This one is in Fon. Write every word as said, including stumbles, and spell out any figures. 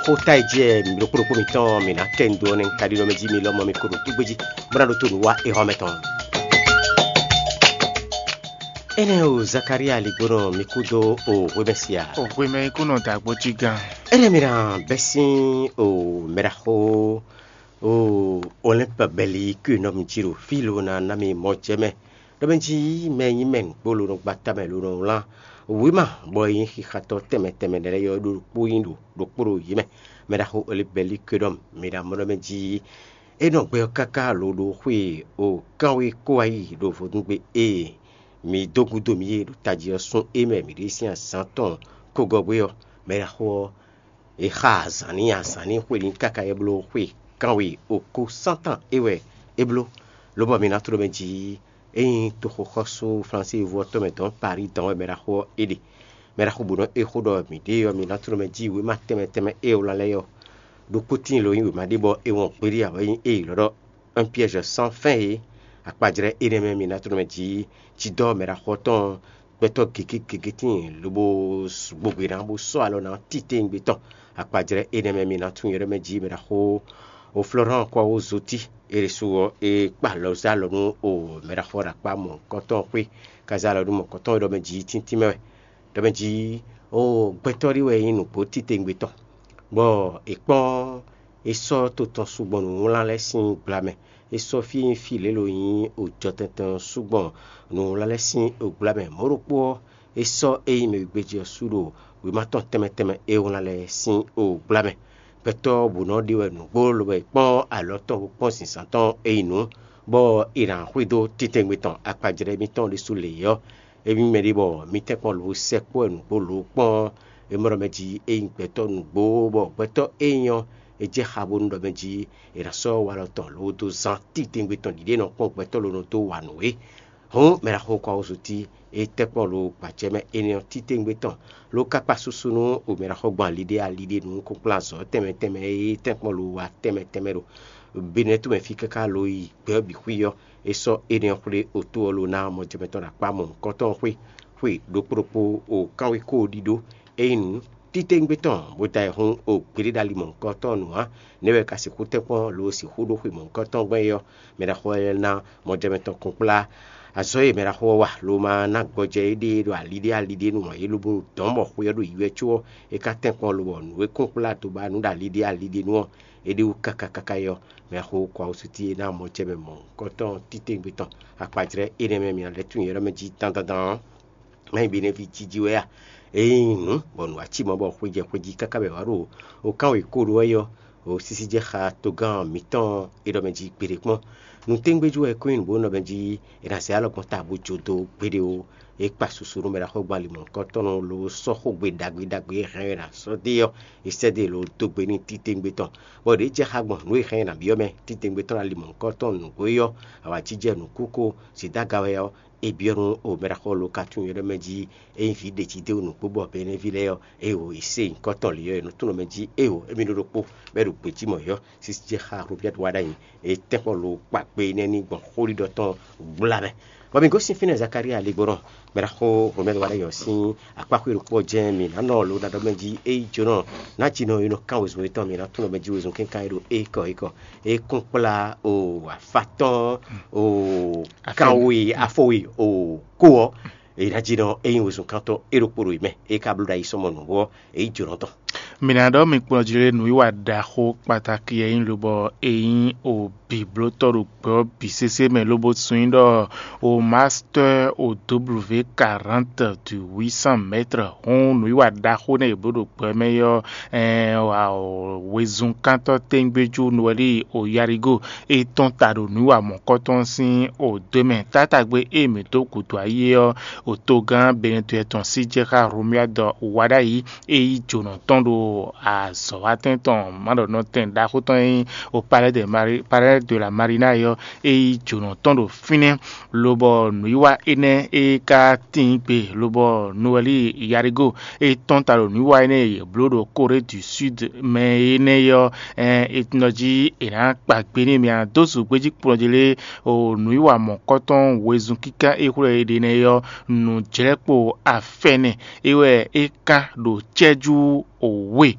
Xó ta e jɛ mǐ ɖokpó ɖokpó mitɔn mǐ ná kɛ nyi do ɔ́ nɛ́, un ka ɖi nɔ mɛ jí mi lɔmɔ̌ mi ko ɖo kúgbé jí, bó ná ɖótó nǔ wa éhɔ́ mɛ tɔn. Énɛ́ o, Zakalía ligbónɔ mi kú dó o hwemɛ sia. O hwemɛ yi kú nɔ dǎgbó cí gán. Énɛ́ mi ná bɛ́ sín o mɛɖaxó o Olɛ́npa bɛli kú nɔ mi jí ɖo fí lo ná ná mi mɔ jɛ mɛ. Ɖɔ mɛ jí mɛ nyí mɛ nǔgbó lo nɔ gba tamɛ lo nɔ wlán wěma, bɔ é nyí xixatɔ́ tɛnmɛ tɛnmɛ lɛ́ɛ yɔ ɖo ɖokpó nyí ɖo ɖokpó ɖo yě mɛ. Mɛ ɖaxó Olɛ́npa bɛli kú nɔ mi ɖo amɔ̌ ɖɔ mɛ jí é nɔ gbɛ ɔ́ káká lo ɖo xwé o kánwé kó wá yi ɖo vodúngbe e mi dó gúdo mì é ɖo tají ɔ́ sún é mɛ mǐ ɖe sín azǎn tɔn kógɔ́gbé ɔ́. Mɛ ɖaxó ɔ́, è xa azǎn n'i, azǎn n'i xwe n'i káká é bló xwe kanwe okó sántan é wɛ é bló, lobɔ mi ná tló mɛ jí é nyí toxoxɔ́sú Flansívu ɔ́ tɔn mɛ dɔn Paris dɔn wɛ mɛ ɖaxó ɔ́ é ɖe. Mɛ ɖaxó bǔ nɔ é xó ɖɔ mǐɖée ɔ́, mi ná tló mɛ jí wěma tɛnmɛ tɛnmɛ é wlán lɛ́ɛ ɔ́, ɖokpó tíin lo nyí wěma ɖé bɔ é wɔn gbeɖé ǎ wɛ nyí é lɔ́ ɖɔ un piège sans fin é. Akpajlɛ́ énɛ́ mɛ mi ná tló mɛ jí cidɔ́ mɛ ɖaxó ɔ́ tɔn gbɛtɔ́ gěgé gěgé tíin lobo gbogbe ná bó sɔ́ alɔ ná titewungbe tɔn. Akpajlɛ́ énɛ́ mɛ mi ná tunwun yɔ́ ɖɔ mɛ jí mɛ ɖaxó o Florán kɔ wó zotí. É ɖésú ɔ́, é kpa alɔ zé alɔ nú o mɛ ɖaxó ɔ́ ɖo akpá mɔ̌hunkɔtɔn xwé, káza alɔ nú mɔ̌hunkɔtɔn e ɖɔ mɛ jí tíntín mɛ wɛ. Ɖɔ mɛ jí o gbɛtɔ́ ɖé wɛ nyí nǔgbó titewungbe tɔn, bɔ è kpɔ́n é sɔ́ to tɔn sugbɔn nǔwlán lɛ́ɛ sín gbla mɛ. É sɔ́ fí e nyí fí lě lo nyí ojɔtɛntɛn ɔ́ sugbɔn nǔwlán lɛ́ɛ sín gbla mɛ. Mɔ̌ ɖokpó ɔ́, é sɔ́ é nyí mɛ wegbejí ɔ́ su ɖo wěma tɔn tɛnmɛ tɛnmɛ e wlán lɛ́ɛ sín gbla mɛ. Gbɛtɔ́ bǔ nɔ ɖe wɛ nǔgbó lobo yi kpɔ́n alɔ tɔn bó kpɔ́n zǐnzán tɔn e yi nǔ, bɔ è nǎ xwedó titewungbe tɔn akpajlɛ́ mitɔn ɖésú lě ɔ́. Émí mɛ ɖé bɔ mǐ tɛ́nkpɔ́n lǒ sɛkpɔ́ wɛ nǔgbó lǒ kpɔ́n é mɔ ɖɔ mɛ jí é nyí gbɛtɔ́ nǔgbó, bɔ gbɛtɔ́ é nyí ɔ́, é jɛ xá bónú ɖɔ mɛ jí è nǎ sɔ́ walɔ tɔn lǒ dó zán titewungbe tɔn ɖiɖe nɔ kpɔ́n gbɛtɔ́ lǒ nɔ dó wa nǔ é. Hǔn mɛ ɖaxó Kwawúzutí é tɛ́nkpɔ́n lǒ gbacɛ́ mɛ énɛ́ ɔ́ titewungbe tɔn, ló ka kpa susu nú mɛ ɖaxó gbɔn aliɖé aliɖé nú kúnkplázɔ̌ tɛnmɛ tɛnmɛ e tɛ́nkpɔ́n lǒ wa tɛnmɛ tɛnmɛ ɖo Benɛ́tu mɛ fí káká lǒ yi gbɛ ɔ́ bǐ xwí ɔ́, é sɔ́ énɛ́ ɔ́ xwlé otó ɔ́ ló ná mɔjɛmɛ tɔn ɖo akpá mɔ̌hunkɔtɔn ɔ́ xwé, xwe ɖokpó ɖokpó o kánwékó ɔ́ ɖíɖó. Ényí títewungbe tɔn bó da ayǐhún o gbeɖé ɖo ali mɔ̌hunkɔtɔn ɔ́ nu ǎ, nɛ̌ wɛ è ka sixú tɛ́nkpɔ́n lo sixú ɖó xwe mɔ̌hunkɔtɔn gbɔn é ɔ́, mɛ ɖaxó ɔ́ lɛ́ ná mɔjɛmɛ tɔn kúnkplá. Azɔ̌ e mɛ ɖaxó ɔ́ wa lo ma ná gbɔjɛ éɖée ɖo aliɖé aliɖé nu ǎ, é lobo dɔn bɔ xwe ɔ́ ɖo yi wɛ có ɔ́, é ka tɛ́nkpɔ́n lobɔ nǔ e kúnkplá do ba nǔ ɖo aliɖé aliɖé nu ɔ́, é ɖe wú káká káká é ɔ́, mɛ xo kɔ awosútí e ná mɔ jɛ mɛ mɔ̌hunkɔtɔn titewungbe tɔn. Akpajlɛ́ énɛ́ mɛ mi ná lɛ́ tunwun yɛ ɖɔ mɛ jí dandandan ɔ́, má nyí Benɛ́ví jí jí wɛ a? Ényí nǔ bɔ nǔ wá cí mɔ̌ bɔ xwe jɛ xwe jí káká bɔ è wǎ ɖo wǒkán wěkóɖó wɛ ɔ́, wǒ sísí jɛ xá togán mǐtɔn e ɖɔ mɛ jí gbeɖé kpɔ́n. Nǔtɛ́ngbéjú wɛ é kɔn nyí nǔ bó nɔ mɛ jí è nǎ zɛ alɔ gbɔn ta bó jó dó gbeɖé ó. É kpa susu nú mɛ ɖaxó gbɔn ali mɔ̌hunkɔtɔn ló sɔ́ xógbe ɖagbe ɖagbe e hɛn ɛ ná sɔ́ dó é ɔ́, è sɛ́ dó e lǒ dó gbe n'i titewungbe tɔn, bɔ ɖě jɛ xá gbɔn nǔ e hɛn ɛ ná byɔ́ mɛ titewungbe tɔn ali mɔ̌hunkɔtɔn nǔgbó é ɔ́, awǎjijɛ nǔkúkú zǐdága wɛ ɔ́, è byɔ́ nú o mɛ ɖaxó ló ka tunwun yɔ́ ɖɔ mɛ jí ényí vǐ ɖě jí dó nǔgbó bɔ Benɛ́ví lɛ́ɛ ɔ́, éeǒ, è sé nyǐkɔ tɔn lě ɔ́, è nɔ tunwun mɛ jí éeǒ, émí ɖó ɖokpó bɔ é ɖo gbějí mɔ̌ yɔ́. Sísí jɛ xá Robíɛ́ti wá ɖ'ayǐ, é tɛ́nkpɔ́n lo kpa gbe énɛ́ ní gbɔn xóɖiɖɔ tɔn gbla mɛ. Bɔ mǐ gosín fínɛ́ Zakalía ligbɔnɔ, mɛ ɖaxó Romɛ́ɛ wá ɖ'ayǐ ɔ́ sín akpáxwé ɖokpó ɔ́ jɛ́n mǐ ná nɔ lo ná ɖɔ mɛ jí ényí jǒnɔ ná jí nɔ e nɔ kán wezun yětɔn, mǐ ná tunwun mɛ jí wezun kɛ́nkan e ɖo ékɔ ékɔ. É kún kplá o afátɔ́n o kánwe afɔwe o kó ɔ́, è nǎ jí nɔ é nyí wezunkántɔ́ é ɖokpó ɖo yě mɛ, é ka bló ɖo ayi sɔmɔ nǔ ɔ́, é nyí jǒnɔ tɔn. Mǐ ná ɖɔ mi kplɔ́n jí lé nǔwiwa ɖaxó kpatáki e nyí lobɔ é nyí o bǐblótɔ́ ɖo gbɛ ɔ́ bǐ sésé mɛ lobo sun nyí ɖɔ o master o W quarante du huit cent mètres. Hǔn nǔwiwa ɖaxó nɛ́ è blǒ ɖo gbɛ mɛ ɔ́, wezunkántɔ́ tɛ́ngbéjú Nuwɛ́li o Yarigo e tɔ́n ta ɖo nǔwiwa mɔ̌kɔtɔn sín o dó mɛ. Tátágbe e mǐ dó gǔdo ayé ɔ́, o togán Benɛtɔ́ tɔn sí jɛ xá Romuald Wadagni e yí jǒnɔ tɔn ɖo azɔ̌watɛn tɔn mǎɖɔnɔtɛn ɖaxó tɔn e nyí o Palais de Mari-, Palais de la Marina é ɔ́, e yí jǒnɔ tɔn ɖo fínɛ́, lobɔ nǔwiwa énɛ́ e ka tíin gbe, lobɔ Nuwɛ́li Yarigo e tɔ́n ta ɖo nǔwiwa énɛ́ e yě bló ɖo Corée du Sud mɛ énɛ́ é ɔ́, ɛ, è nɔ jí è nǎ kpa gbe n'i. Mǐ ná dó zǔgbéjí kplɔ́n jí lé o nǔwiwa mɔ̌kɔtɔn wezun kíká e xwlɛ è ɖe nɛ́ é ɔ́, nǔjlɛ́kpo afɛnɛ é wɛ é kán ɖo cɛ́jú we